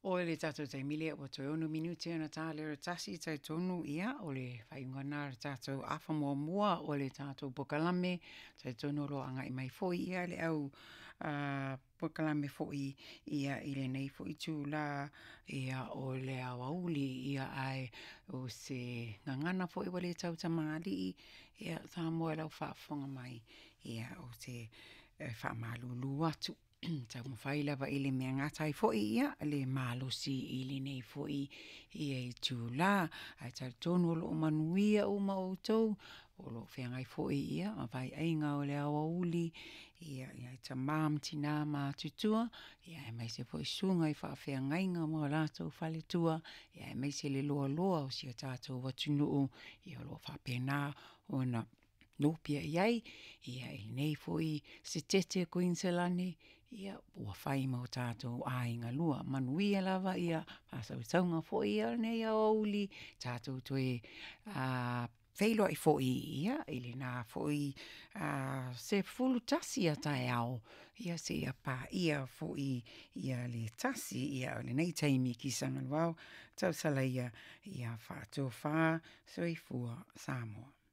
O le tatou taimi lea ua toe 6 minute ona ta lea o le 1, talitonu ia o le faaiuga lena o le tatou afa muamua o le tatou polokalame. Talitonu o lo o agai mai foi ia le au polokalame foi ia i lenei foi itula ia o le aoauli. Ia ae o se gagana foi ua le tautamalii ia Samoa i lau faafofoga mai, ia ou te faamalulu atu, taumafai lava i le mea e gata ai foi ia le malosi i lenei foi itula. Ae talitonu o lo o manuia uma outou o lo o feagai foi ma vaaiaiga o le aoauli i tama ma tina matutua, aemaise foi susuga i faafeagaiga ma o latou faletua, aemaise le loaloa o si o tatou atunuu o lo o faapena ona nopiai ai i lenei foi Setete Koiniselani ua fai ma o tatou aiga lua. Manuia lava faasausauga foi o lenei aoauli, tatou toe feiloai foi i lena foi 11:00 a taeao seia paia foi le 1:00. O lenei taimi kisa gluao, talosaga ia ia faatofa. Soifua Samoa.